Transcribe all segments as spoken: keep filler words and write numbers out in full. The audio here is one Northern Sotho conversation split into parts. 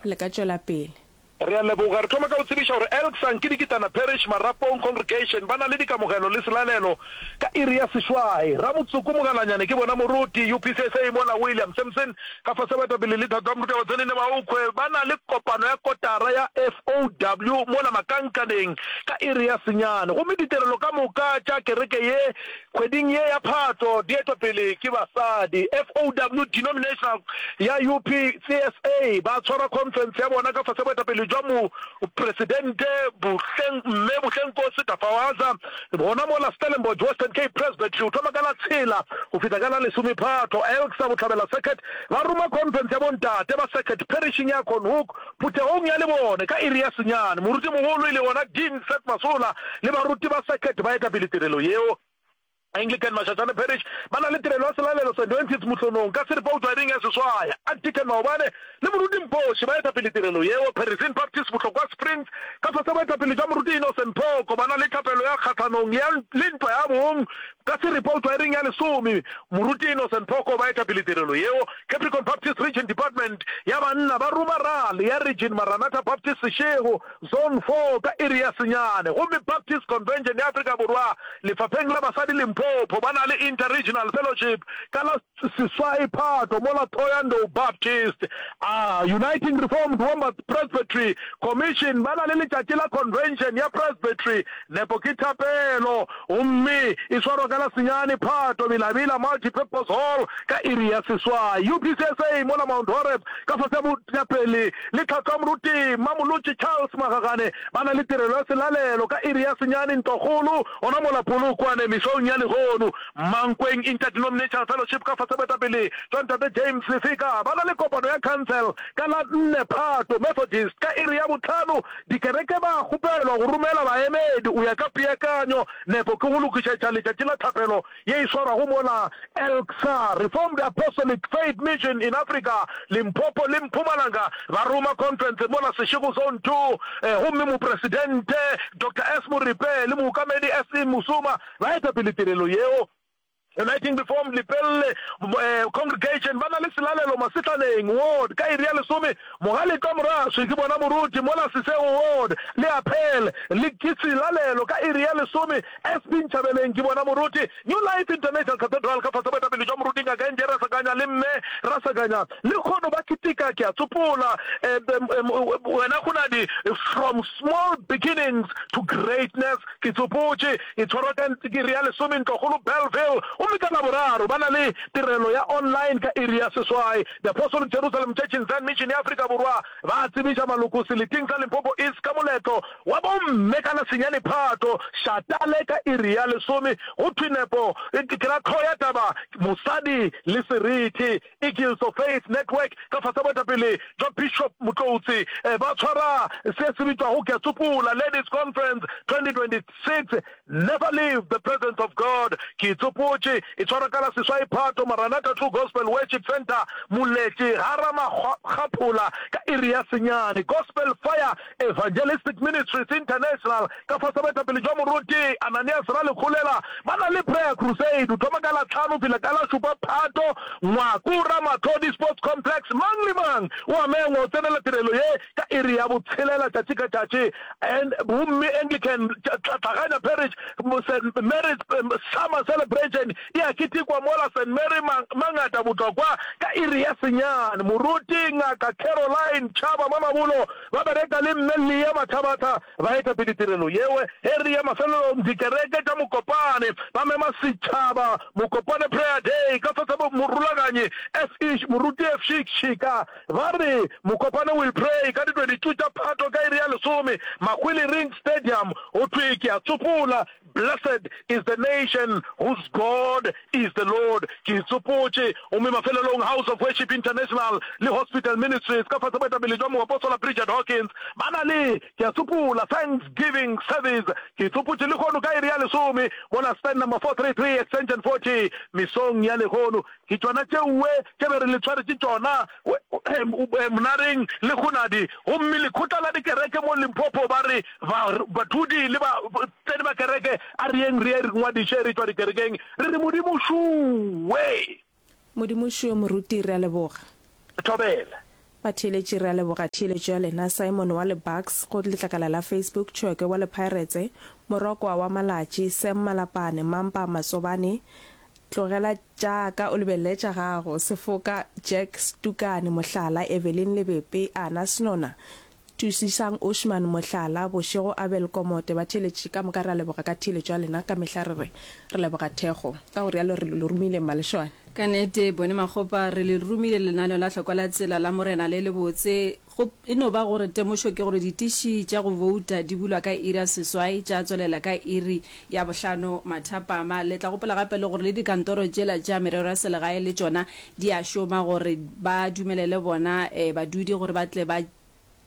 Le ka tšwela pele. Re a leboga. Re thoma ka go tsebiša gore Elksan ke Dikitana Parish Marapong Congregation ba na le dikamogelo le selalelo ka iri ya seswai. Ramotsoko Mogalanyane ke bona moruti U P C S A mola William Simpson ka fase baetapele le Thato Moruti wa Tsenene Maokhwe ba na le kopano ya kotara ya F O W mola Makankaneng ka iri ya senyane. Gomme ditirelo ka moka tša kereke ye kgweding ye ya Phato di etwa pele ke basadi. F O W Denominational ya U P C S A ba tshwara conference ya bona ka fase boetapele jwa mopresidente Bohleng mme Bohlengkosi Tafawaza gona mola Stellenbosch Western Cape Presbytery o thoma ka la tshela go fihla ka la lesome Phato. Elksa Bohlabela Circuit ba roma conference ya bontate ba circuit parishing ya Conhoek phuthegong ya Lebone ka iri ya senyane. Morutimogolo e le gona Dean Seth Masola le baruti ba circuit ba etapele tirelo yeo. Anglican Mashashane Parish ba na le tirelo ya selalelo Saint Wentis Mohlonong ka seripa go tšwa iring ya seswai. Archdeacon Maobane le Moruti Mpoši ba etapele tirelo yeo. Parisian Baptist Bohlokwa Springs ka fase boetapele jwa Moruti Innocent Phoko ba na le thapelo ya kgahlanong ya le ntwa ya bong ka seripa go tšwa iring ya lesome. Moruti Innocent Phoko ba etapele tirelo yeo. Capricorn Baptist Region Department ya banna ba roma rally ya Region Maranatha Baptist Seshego Zone four ka iri ya senyane. Gomme Baptist Convention ya Afrika Borwa lefapheng la basadi Limpopo ba na le Inter-Regional Fellowship ka la seswai Phato mola Thohoyandou Baptist a Uniting Reformed Wombat Presbytery Commission ba na le letšatši la Convention ya Presbytery. Nepo ke thapelo gomme e swarwa ka la senyane Phato Bilabila Multi-Purpose Hall ka iri ya seswai. U P C S A mola Mount Horeb ka fase ya boetapele le tlhahlo ya Moruti Mmamolotši Charles Magagane ba na le tirelo ya selalelo ka iri ya senyane Ntlokgolo gona mola Polokwane mesong ya lehono. Mankweng Interdenominational Fellowship ka fase boetapele jwa Ntate James Lefika ba na le kopano ya council ka la nne Phato Methodist ka iri ya bohlano. Dikereke ba kgopelwa go romela baemedi o ya ka peakanyo. Nepo ke go lokišetša letšatši la thapelo ye e swarwago mola Elksa Reformed Apostolic Faith Mission in Africa Limpopo le Mpumalanga ba roma conference mola Seshego Zone two, gomme mopresidente Doctor S Moripe le mookamedi S E Musuma ba etapele tirelo yeo. Uniting Reformed Lepelle Congregation ba na le selalelo Masehlaneng Ward ka iri ya lesome. Mogaletwa Moraswi ke bona moruti mola Sesego Ward le Apel le ke selalelo ka iri ya lesome. S P Nchabeleng ke bona moruti. New Life International Cathedral ka fase boetapele jwa moruti Ngaka N J Rasakanya le Mme Rasakanya le kgono ba keteka ke a tsopola wena Kgonadi from small beginnings to greatness ke tsopotše e tshwarwa ka iri ya lesome Ntlokgolo Bellville gomme ka Laboraro ba na le tirelo ya online ka iri ya seswai. The Apostolic Jerusalem Church in Zion Mission ya Afrika Borwa ba tsebiša maloko seleteng sa Limpopo East ka moletlo wa bomme ka la senyane Phato Shatale ka iri ya lesome. Go thwe nepo ke ra tlhogo ya taba mosadi le seriti. Eagles of Faith Network ka fase boetapele jwa Bishop Motloutse ba tshwara se se bitšwago Ke a Tsopola Ladies Conference twenty twenty-six, Never Leave the Presence of God. Ke tsopotše e tshwarwa ka la seswai Phato Maranatha True Gospel Worship Centre Moletše ga Ramakgaphola ka iri ya senyane. Gospel Fire Evangelistic Ministries International ka fase boetapele jwa Moruti Ananias Ralekgolela ba na le Prayer Crusade o thoma ka la tlhano fihla ka la šupa Phato Ngwako Ramatlhodi Sports Complex. Mang le mang o a mengwa o tsenela tirelo ye ka iri ya botshelela tšatši ka tšatši. And gomme Anglican Tlhaganya Parish Saint Mary's Summer Celebration e a ketekwa mola Saint Mary Mangata Botlokwa ka iri ya senyane. Moruti Ngaka Caroline Chaba Mamabolo ba bereka le Mme Leah Mathabatha ba etapele tirelo yeo. Ge re ya mafelelong dikereke tša Mokopane ba mema setšhaba Mokopane Prayer Day ka fase morulaganyi F E Moruti F Shika ba re Mokopane will pray ka di twenty-two tša Phato ka iri ya lesome Makwili Ring Stadium. Go thwe ke a tsopola Blessed is the nation whose God is the Lord. Ke tsopotše. Gomme mafelelong House of Worship International le Hospital Ministries ka fase boetapele jwa Moapostola Bridget Hawkins ba na le ke a tsopola Thanksgiving Service. Ke tsopotše lehono ka iri ya lesome mola stand number four three three extension forty mesong ya lehono. Ke tšona tšeoe tše be re le tshwaretše tšona Monareng le Kgonadi. Gomme lekgotla la dikereke mo Limpopo ba re bathudi le batseni ba kereke a re yeng re ye re ngwadiše re tšwa dikerekeng re re Modimo šuwe. Modimo šuwe moruti, re a leboga. Thobela. Batheeletši re a leboga theeletšo ya lena. Simon wa le Bucks go letlakala la Facebook, Tšhwekwe wa le Pirates, Morokwa wa Malatši, Sam Malapane, Mampa Matsobane, Tlogela tša ka o lebelele tša gago, Sefoka, Jack Stukane, mohlala, Evelyn Lebepe, Ana Snona, Tusisang Ushman, mohlala, Bošego Abel Komote. Batheeletši ka moka re a leboga ka theeletšo ya lena. Ka mehla re re re leboga thekgo. Ka go rialo re le romile Mmalešwane. Ka nnete, Bone Makgopa, re le romile lenaneo la Hlokwa la Tsela la Morena le lebotse. Go e no ba gore temošo ke gore ditiši tša go bouta di bulwa ka iri ya seswai tša tswelela ka iri ya bohlano mathapama. Le tla gopola gape le gore le dikantoro tšela tša merero ya selegae le tšona di a šoma gore ba dumelele bona badudi gore ba tle ba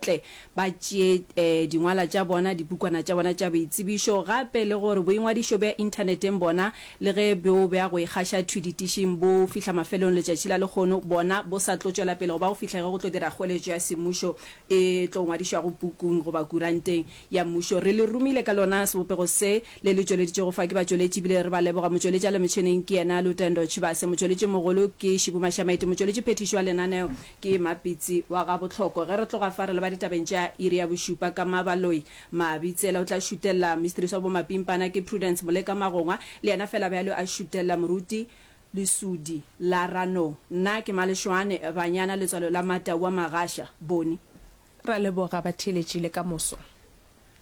tle ba tšee dingwala tša bona, dipukwana tša bona tša boitsebišo, gape le gore boingwadišo bja inthaneteng bona, le ge bjo bja go ikgaša thwi ditišing bo fihla mafelong letšatši la lehono, bona bo sa tlo tšwela pele go ba go fihla ge go tlo dira kgoeletšo ya semmušo e tlo ngwadišwago pukung goba kuranteng ya mmušo. Re le romile ka lona sebopego se le le tšweleditšego fa ke batšweletši ebile re ba leboga. Motšweletši a le metšheneng ke yena Lutendo Tshivhase, motšweletši mogolo ke Šibu Mashamaite, motšweletši phethiši wa lenaneo ke Mapitsi wa ga Bohloko. Ge re tloga fa re leba ditabeng tša iri ya bošupa ka Mabaloi Mabitsela o tla šutella mistress wa bomapimpana ke Prudence Moleka Magongwa le yena fela bjalo a šutella moruti Lesudi la Ranong. Nna ke Malešwane Banyana Letswalo la Matau wa Magasha Boni. Ra leboga batheeletši le ka moso.